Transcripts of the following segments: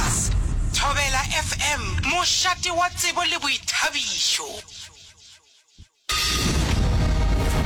Plus. Thobela FM, mošate wa tsebo le boithabišo.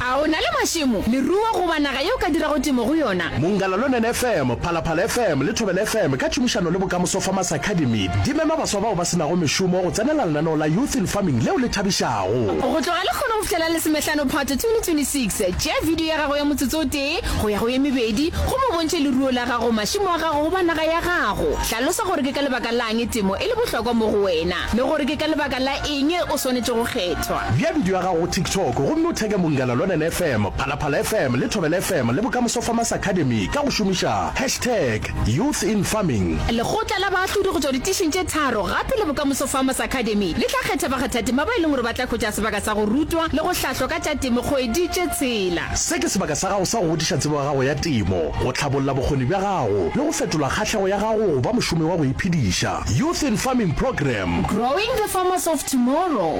A o na le mašemo, leruo goba naga ye o ka dirago temo go yona? Mongala Lonene FM, Phalaphala FM le Thobela FM ka tšhomišano le Bokamoso Farmers Academy di mema baswa bao ba se nago mešomo go tsenela lenaneo la Youth in Farming leo le thabišago. Go tloga lekgono go fihlela lesomehlano Phato 2026, tšea video ya gago ya motsotso o tee go ya go ye mebedi gomme o bontšhe leruo la gago, mašemo a gago goba naga ya gago. Hlalosa gore ke ka lebaka la'ng temo e le bohlokwa mo go wena le gore ke ka lebaka la eng o swanetše go kgethwa. Bea bidio ya gago go TikTok gomme o theke Munghana Lonene FM, Phalaphala FM le Thobela FM le Bokamoso Farmers Academy ka go šomiša hashtag YouthInFarming. Lekgotla la baahlodi go tšwa ditišing tše tharo gape le Bokamoso Farmers Academy le tla kgetha bakgathatema ba e leng gore ba tla hwetša sebaka sa go rutwa le go hlahlwa ka tša temo kgwedi tše tshela. Se ke sebaka sa gago sa go godiša tsebo ya gago ya temo, go hlabolla bokgoni bja gago le go fetola kgahlego ya gago go ba mošomi wa go iphediša. Youth in Farming Programme. Growing the farmers of tomorrow.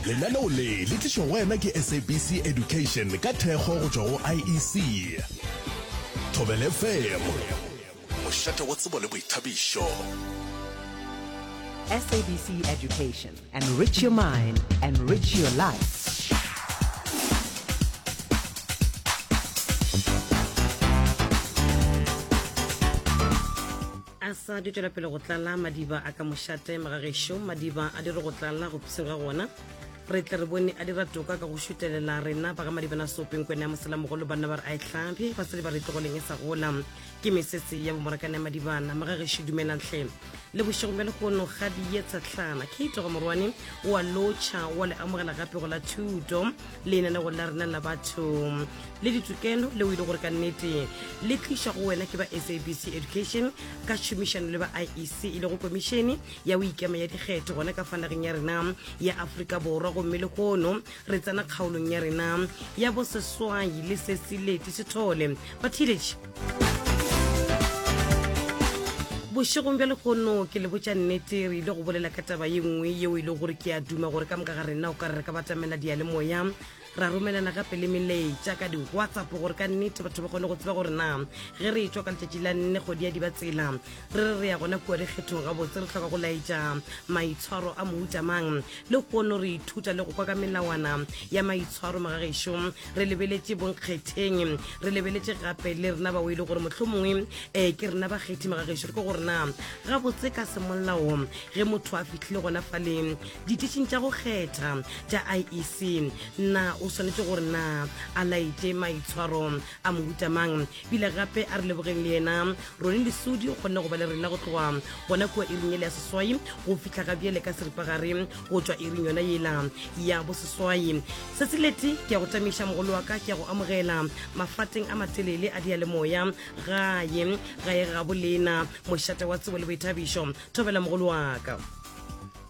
Lenaneo le le tlišwa go wena ke SABC Education ka thekgo go tšwa go IEC. Thobela FM, mošate wa tsebo le boithabišo. SABC Education, enrich your mind, enrich your life. A sa di tšwela pele go tlala madiba a ka mošate magagešo madiba a dire go tlala go pseng ga gona re tle re bone a dira toka ka go šutelela rena ba ga madibana sopeng kwene ya moselamogolo banna ba re a e hlaphe basadi ba re tlogoleng e sa gola ke mesese ya bomorakane ya madibana magagešo dumelang hle le bošego bja lehono ga di ye tshetlana kate ga morwane o a lotšha wa le amogela gape go la thuto lenanego la rena la batho le ditokelo leo e le gore ka nnete le tlišwa go wena ke ba sabc education ka tšhomišano le ba iec e lego komišene ya go ikema ya dikgetho gona ka fa nageng ya rena ya afrika borwa gomme lehono re tsena kgaolong ya rena ya boseswai le sesileti sethole batheeletši bošegong bja lehono ke le botša nnete re ile go bolela ka taba ye nngwe yeo e le gore ke a duma gore ka moka ga rena o ka re re ka batamela diyalemoya ra romelana gape le melaetša ka di-whatsapp gore ka nnete batho ba kgone go tseba gore na ge re etšwa ka letšatši la nne kgwedi ya dibatsela re re re ya gona kua dikgethong gabotse re hloka go laetša maitshwaro a mohuta mang le kono re ithuta le go kwa ka melawana ya maitshwaro magagešo re lebeletše bonkgetheng re lebeletše gape le rena bao e le gore mohlomongwe um ke rena bakgethi magagešo re ke gore na gabotse ka semolao ge motho a fihlile gona fale Ditišing tša go kgetha tša IEC, na o swanetše gore na a laetše maitshwaro a mohuta mang? Bile gape a re lebogeng le yena Ronnie Lesudi o kgonne go ba le rena go tloga gona kua iring yela ya seswai go fihla ga bjale ka seripagare go tšwa iring yona yela ya boseswai. Sesileti ke ya go tamiša mogolo wa ka ke ya go amogela mafateng a matelele a diyalemoya gae gae ga bolena mošate wa tsebo le boithabišo. Thobela mogolo wa ka.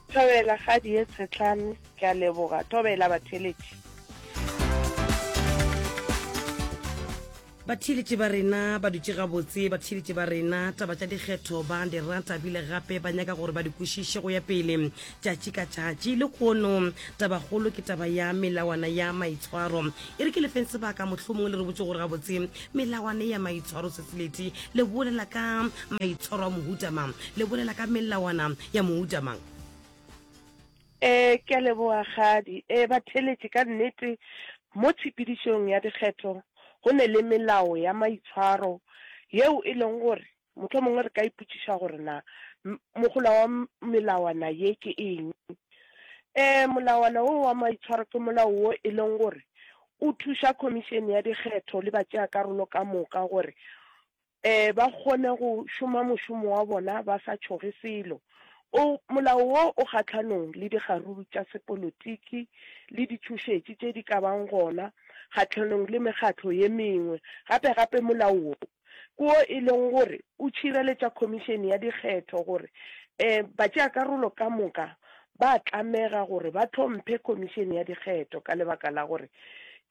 Thobela kgadi ye tshetlane, ke a leboga. Thobela batheeletši. Batheeletši ba rena ba dutše gabotse, batheeletši ba rena taba tša dikgetho ba di rata bile gape ba nyaka gore ba di kwešiše go ya pele tšatši ka tšatši. Lehono tabakgolo ke taba ya melawana ya maitshwaro. E re ke lefeng sebaka mohlomongwe le re botše gore gabotse melawana ya maitshwaro Sesileti le bolela ka maitshwaro a mohuta mang, le bolela ka melawana ya mohuta mang? Ee, ke a leboga Kgadi. Ee, batheeletši, ka nnete mo tshepedišong ya dikgetho go ne le melao ya maitshwaro yeo e leng gore mohlomongwe re ka ipotšiša gore na mohola wa melawana ye ke eng. Ee, molawana wo wa maitshwaro ke molao wo e leng gore o thuša Khomišene ya Dikgetho le batšeakarolo ka moka gore Ee, ba kgone go šoma mošomo wa bona ba sa tšhoge selo. O, molao wo o kgahlanong le dikgaruru tša sepolotiki le ditšhošetši tše di ka bang gona kgahlanong le mekgatlo ye mengwe. Gape gape molao wo ke wo e leng gore o tšhireletša Khomišene ya Dikgetho gore e, batšeakarolo ka moka ba tlamega gore ba hlomphe Khomišene ya Dikgetho ka lebaka la gore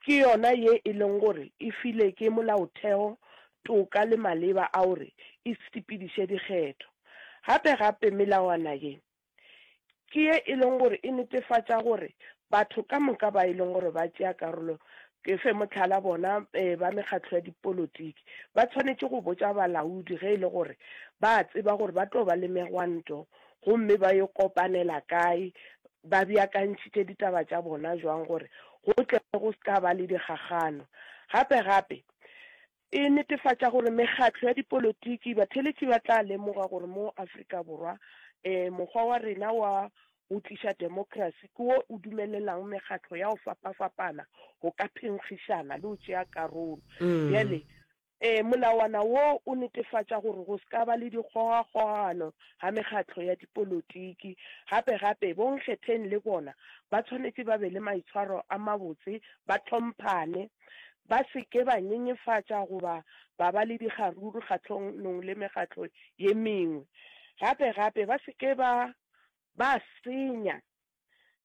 ke yona ye e leng gore e file ke molaotheo toka le maleba a gore e sepediše dikgetho. Gape gape melawana ye Ke ye e leng gore e netefatša gore batho ka moka ba e leng gore ba tšea karolo, ke fe mohlala bona ba mekgatlo ya dipolotiki, ba tshwanetše go botša balaodi ge e le gore ba a tseba gore ba tlo ba le megwanto gomme ba yo kopanela kae, ba beakantšhitše ditaba tša bona jwang gore go tle go se ka ba le dikgakgano. Gape-gape, E netefatša gore mekgatlo ya dipolotiki, batheeletši ba tla lemoga gore mo Afrika Borwa mokgwa wa rena wa go tliša demokrasi ke wo o dumelelang mekgatlo ya go fapafapana go ka phenkgišana le go tšea karolo. Bjale molawana wo o netefatša gore go se ka ba le dikgogakgogano ga mekgatlo ya dipolotiki. Gape-gape, bonkgetheng le bona ba tshwanetše ba be le maitshwaro a mabotse, ba hlomphane, Ba se ke ba nyenyefatša goba ba ba le dikgaruru kgahlonong le mekgatlo ye mengwe. Gape gape ba se ke ba ba senya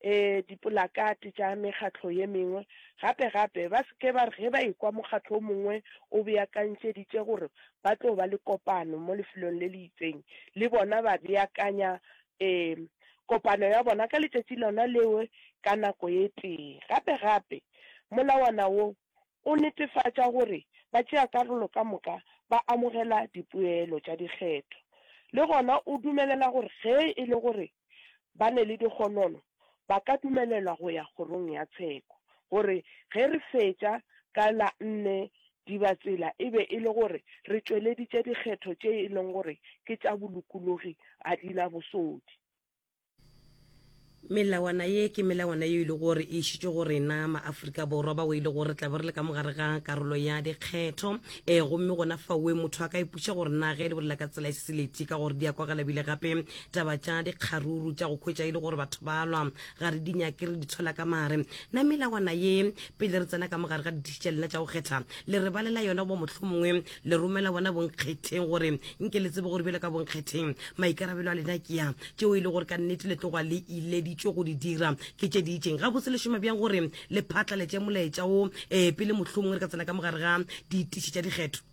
dipolakate tša mekgatlo ye mengwe. Gape gape ba se ke ba re ge ba ekwa mokgatlo o mongwe o beakantšeditše gore ba tlo ba le kopano mo lefelong le le itseng, le bona ba beakanya kopano ya bona ka letšatši lona leo ka nako ye tee. Gape gape Molawana wo o netefatša gore batšeakarolo ka moka ba amogela dipoelo tša dikgetho. Le gona o dumelela gore ge e le gore ba ne le dikgonono, ba ka dumelelwa go ya kgorong ya tsheko. Gore ge re fetša ka la nne Dibatsela e be e le gore re tšweleditše dikgetho tše e leng gore ke tša bolokologi ga di na bosodi. Melawana ye ke melawana ye e le gore e išitšwe go rena maafrika borwa bao e le gore tla be re le ka mogare ga karolo ya dikgetho e gomme gona faoe motho a ka ipuša gore na ge le bolela ka tsela e seseleti ka gore di a kwagala bile gape taba tša dikgaruru tša go khwetša e le gore batho ba lwa ga re di nyake re di tshola ka mare na melawana ye pele re tsena ka mogare ga dithiši tša lena tša go kgetha le re balela yona bo mohlomongwe le romela bona bonkgetheng gore nke le tsebe gore bjale ka bonkgetheng maikarabelo a lena ke ya tšeo e le gore ka nnete le tloga le ileditšwe go di dira ke tše di itšeng gabotse le šoma bjang gore le phatlaletše molaetša wo um pele mohlomongwe re ka tsena ka mogare ga ditiši tša dikgetho?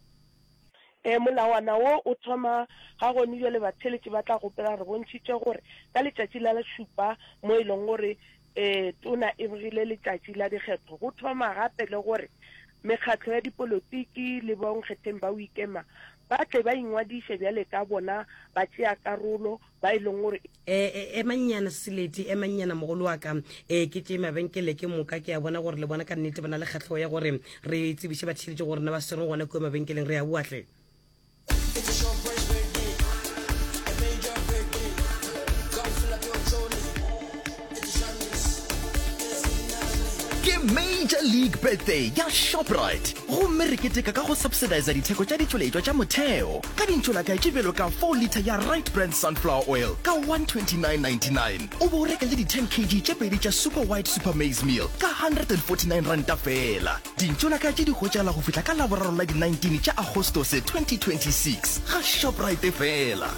Ee, molawana wo o thoma ga gone bjale batheeletši ba tla gopola re bontšhitše gore ka letšatši la šupa mo e leng gore um tona e begile letšatši la dikgetho go thoma gape le gore mekgatlo ya dipolotiki le bonkgetheng ba go ikema ba tle ba ingwadiše bjale ka bona batšeakarolo ba e leng gore E, emannyana Seleti, emannyana mogolo wa ka. E, ke tše mabenkele ke moka ke a bona gore le bona ka nnete ba na le kgahlego ya gore re tsebiše batheeletši gore na ba swereng gona kua mabenkeleng. Re a boa hle. Ke Major League Birthday ya Shoprite gomme re keteka ka go subsidiza ditheko tša ditšweletšwa tša motheo ka dintšolakae tše bjalo ka 4 litre ya Right Brand Sunflower Oil ka 129.99 o be o reka le di 10 kg tše pedi tša Super White Super Maize Meal ka 149 ranta feela. Dintšolakae tše di hwetšagala go fihla ka Laboraro la di 19 tša Agostose 2026 ga Shoprite feela.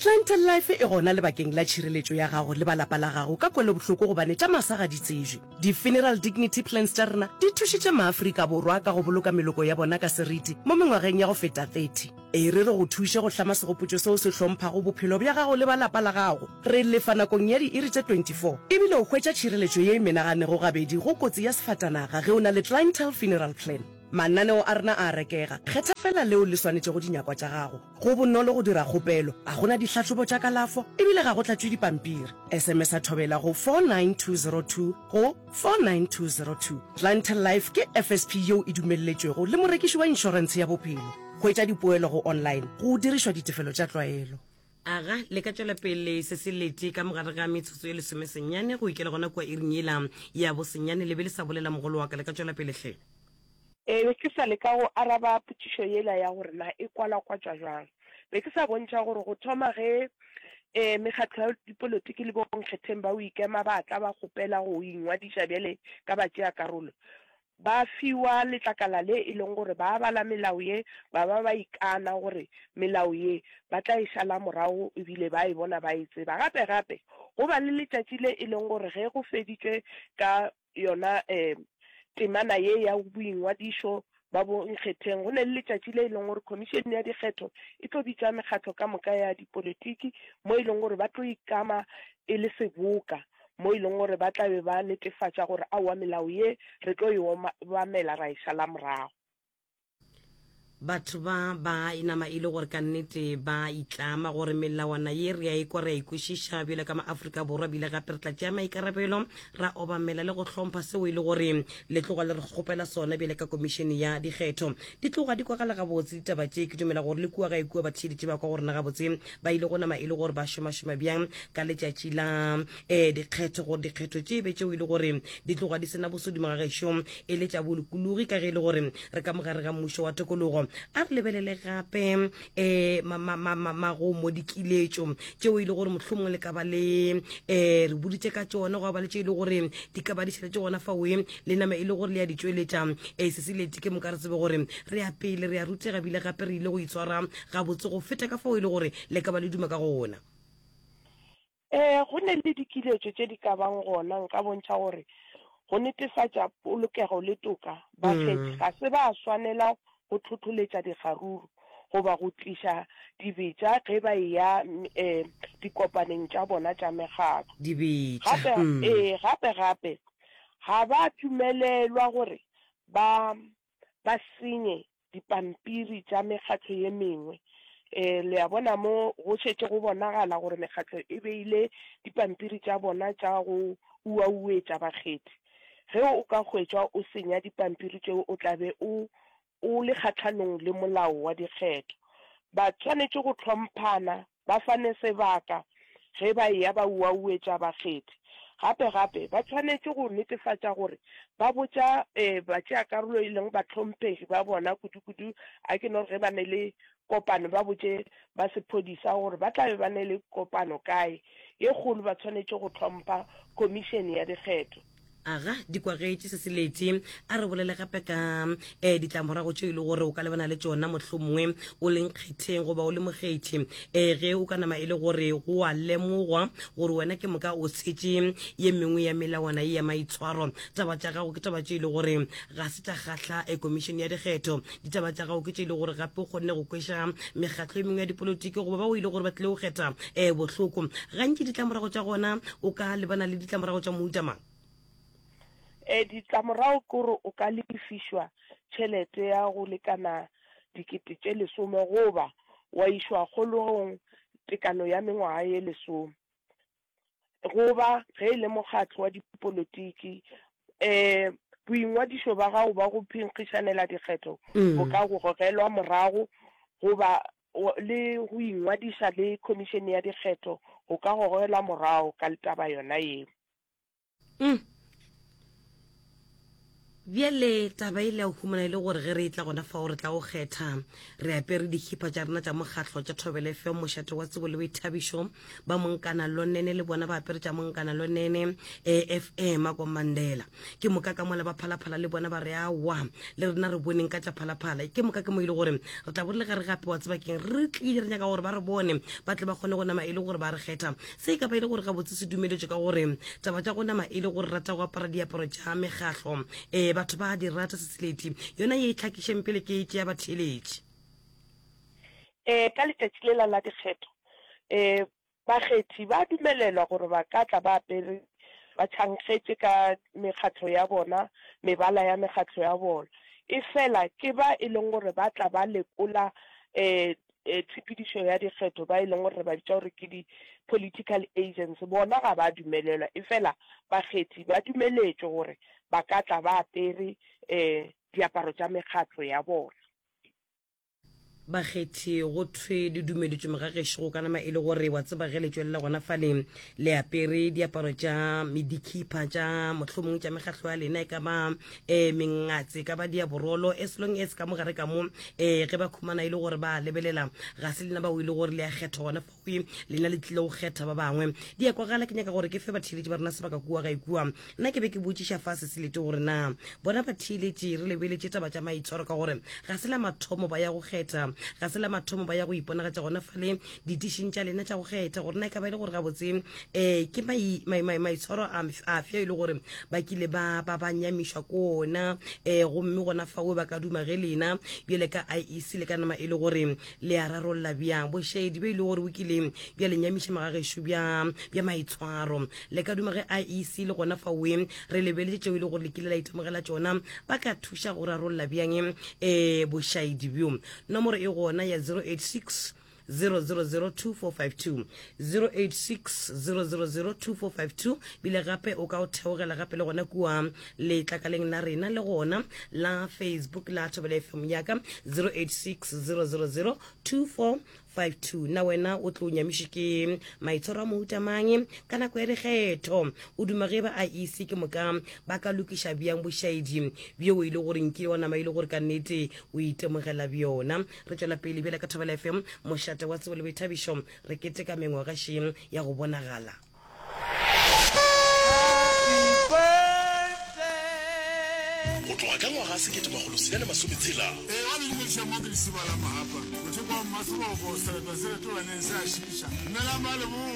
Clientele Life e gona lebakeng la tšhireletšo ya gago le ba lapa la gago ka kwelobohloko gobane tša masa ga di tsebje. Di-Funeral Dignity Plans tša rena di thušitše maAfrika Borwa ka go boloka meloko ya bona ka seriti mo mengwageng ya go feta 30. E re re go thuše go hlama segopotšo seo se hlomphago bophelo bja gago le ba lapa la gago. Re lefa nakong ya diiri tše 24 ebile o hwetša tšhireletšo ye e menaganego gabedi go kotsi ya sefatanaga ge o na le Clientele Funeral Plan. Mananeo a rena a a rekega, kgetha feela leo le swanetšego dinyakwa tša gago. Go bonolo go dira kgopelo, ga go na dihlahlobo tša kalafo e bile ga go tlatšwe dipampiri. SMS-a Thobela go 49202 go 49202. Clientele Life ke FSP yeo e dumelletšwego le morekiši wa inšorentshe ya bophelo. Hwetša dipoelo go online go dirišwa ditefelo tša tlwaelo. Aga, le ka tšwela pele se se lete ka mogare ga metsotso e lesomesenyane go ikela gona kua iring yela ya bosenyane. Le be le sa bolela mogolo wa ka, le ka tšwela pele hle. Ee, be ke sa leka go araba potšišo yela ya gore na e kwalakwatšwa bjang. Be ke sa bontšha gore go thoma ge um mekgatlo ya dipolotiki le bonkgetheng ba go ikema ba tla ba kgopela go ingwadiša bjale ka batšeakarolo, ba fiwa letlakala le e leng gore ba bala melao ye ba ba ba ikana gore melao ye ba tla e šala morago ebile ba e bona ba e tseba. Gape gape go ba le letšatši le e leng gore ge go feditšwe ka yona um temana ye ya boingwadišo. Ba bonkgetheng, go ne le letšatši le e leng gore Khomišene ya Dikgetho e tlo bitša mekgatlo ka moka ya dipolitiki mo e leng gore ba tlo ikama e le seboka mo e leng gore ba tla be ba netefatša gore aowa melao ye re tlo e obamela ra e šala morago. Batho ba ba inama e le gore ka nnete ba itlama gore melawana ye re a ekwa re a ikwešiša bjalo ka maAfrika Borwa bile gape re tla tšea maikarabelo ra obamela le go hlompha seo e le gore le tloga le re kgopela sona bjale ka komišene ya dikgetho. Di tloga di kwagala gabotse ditaba tše, ke dumela gore le kua gae kua batheeletši ba kwa go rena gabotse ba ile go nama e le gore ba šomašoma bjang ka letšatši la um dikgetho gore dikgetho tše e be tšeo e le gore di tloga di sena bosodimo ga gešo e le tša bolokologi ka ge e le gore re ka mogare ga mmušo wa tokologo. A re lebelele gape um magomo, dikiletšo tšeo e le gore mohlomongwe le ka ba le um re boditše ka tšona, gwa ba le tše e le gore di ka ba di šaletše gona faoe le nama e le gore le ya di tšweletša um sesileti ke moka re tsebe gore re ya pele, re ya rutega bile gape re ile go itshwara gabotse go feta ka fao e le gore le ka ba le duma ka gona. Ee, go ne le dikiletšo tše di ka bang gona. Nka bontšha gore go netefatša polokego le toka, bakgethi ga se ba swanela go tlhohloletša dikgaruru goba go tliša dibetša ge ba eya dikopaneng tša bona tša mekgatlo. Dibetša. Gape, ee, gape gape ga ba dumelelwa gore ba ba senye dipampiri tša mekgatlo ye mengwe. E, le a bona mo go šetše go bonagala gore mekgatlo e beile dipampiri tša bona tša go uauetša bakgethi. Ge o ka hwetšwa o senya dipampiri tšeo o tla be o o le kgahlanong le molao wa dikgetho. Ba swanetše go hlomphana ba fane sebaka ge ba eya ba uauetša bakgethi. Gape gape, ba tshwanetše go netefatša gore ba botša batšeakarolo e leng bahlomphegi ba bona, kudu-kudu a ke no re ge ba ne le kopano ba botše ba sephodisa gore ba tla be ba ne le kopano kae ye kgolo. Ba tshwanetše go hlompha Khomišene ya Dikgetho. Aga, di kwagetše se selete. A re bolele gape ka um ditlamorago tše e le gore o ka lebana le tšona mohlomongwe o le nkgetheng goba o le mokgethi um ge o ka nama e le gore go a lemogwa gore wena ke moka o tshetše ye mengwe ya melawana ye ya maitshwaro. Taba tša gago ke taba tše e le gore ga se tša kgahla eh, komišene ya dikgetho. Ditaba tša gago ke tše e le gore gape o kgonne go kweša mekgatlo e mengwe ya dipolotiki goba bao e le gore ba tlile go kgetha um bohloko. Gantši ditlamorago tša gona o ka lebana le ditlamorago tša mohuta mang? E, ditlamorago ke gore o ka lefišwa tšhelete ya go lekana dikete tše lesome goba wa išwa kgolegong tekano ya mengwaga ye lesome. Goba ge e le mokgatlo wa dipolotiki, e, boingwadišo ba gago ba go phenkgišanela dikgetho bo ka go gogelwa morago goba le go ingwadiša le Khomišene ya Dikgetho go ka gogelwa morago ka taba yona yeo. Mm. Bjale taba e le ya go humana e le gore ge re etla gona fao re tla go kgetha re apere dikhipa tša rena tša mokgatlo tša Thobela FM mošate wa tsebo le boithabišo ba Monkana Lonene le bona ba apere tša Monkana Lonene FM a kwa Mandela Ke moka ka mola ba Phalaphala le bona ba re, Aowa, le rena re boneng ka tša Phalaphala. Ke moka ke mo e le gore re tla bo re le gare gape, wa tseba keng, re tlile re nyaka gore ba re bone, ba tle ba kgone go nama e le gore ba re kgetha. Se e ka ba e le gore gabotse se dumeletšwe ka gore taba tša go nama e le gore rata go apara diaparo tša mekgahlo, ee, batho ba a di rata. Seseleti, yona ye e tlhakišeng pele ke e tšea batheeletši. Ee, ka letšatši lela la dikgetho, ee, Bakgethi ba dumelelwa gore ba ka tla ba apere ba tšhankgetše ka mekgatlo ya bona, mebala ya mekgatlo ya bona. Efela ke ba e leng gore ba tla ba lekola tshepedišo ya dikgetho, ba e leng gore re ba bitša gore ke di-political agents, bona ga ba dumelelwa. Efela bakgethi ba dumeletšwe gore ba ka tla ba apere diaparo tša mekgatlo ya bona. Bakgethi, go thwe le dumeletšwe mogagešo go ka nama e le gore wa tseba ge le tšwelela gona fale le apere diaparo tša medikhipha tša mohlomong tša mekgahlo ya lena, e ka ba um mengatse, e ka ba diaborolo, as long as ka mogare ka mo um ge ba khumana e le gore ba lebelela ga se lena bao e le gore le ya kgetha gona fawe, lena le tlile go kgetha ba bangwe. Di a kwagala, ke nyaka gore ke fe batheeletši ba rena sebaka kua gae kua. Nna ke be ke botšiša fa Seselete gore na bona batheeletši re lebeletše taba tša maitshwaro ka gore ga se la mathomo ba ya go kgetha. Ga se la mathomo ba ya go iponagatša gona fale ditišing tša lena tša go kgetha gore na e ka ba e le gore gabotse um ke maitshwaro afe e le gore ba kile ba ba ba nyamišwa ko ona um gomme gona fao ba ka duma ge lena bjale ka IEC le ka nama e le gore le a rarolla bjang bošaedi bjo e le gore bo kile bja le nyamiša magagešo bja bja maitshwaro. Le ka duma ge IEC le gona faoe re lebeletše tšeo e le gore le kile la itemogela tšona ba ka thuša go rarolla bjang um bošaedi bjo. Nomoro e gona ya 086 0002452 086 0002452 bile gape o ka o theogela gape le gona kua letlakaleng la rena le gona la Facebook la Thobela FM yaka 086 000 2452 na wena o tlo nyamiše ke maitshwaro a mohuta mang ka nako ya dikgetho o duma ge ba IEC ke moka ba ka lokiša bjang bošaedi bjo e le gore nkile wa nama e le gore ka nnete o itemogela bjona Re tšwela pele bjale ka Thobela FM, mošate wa tsebo le boithabišo. Re keteka mengwaga še ya go bonagala. Go tloga ka ngwaga 1660. Ee, wa le dumediša mo ke Lesiba la Mahapa, mothoko wa Mmaseboko, sereto se retolaneng se a šiiša. Dumelang ba Leboa.